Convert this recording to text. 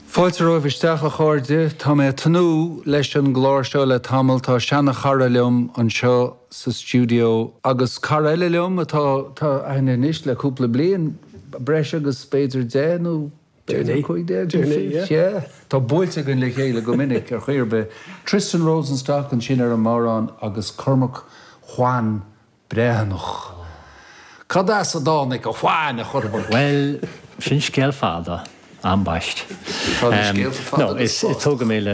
Fáilte romhaibh isteach, a chairde. Tá mé ag tnúth leis an gclár seo le tamall. Tá seana-chara liom anseo sa stiúideo agus cara eile liom atá tá aithne anois le cúpla bliain, breis agus b'fhéidir 10 nó b'fhéidir 15, yeah. Yeah. Tá buailte againn le chéile go minic ar chaoi ar bith. Tristan Rosenstock ansin ar an mbodhrán agus Cormac Juan Breathnach. Cad as a dtáinig a Juan, a Chormaic? Bhuel, sin scéal fada, ambaist. Tá na scéalta fada No, go is spás. tógadh mé le.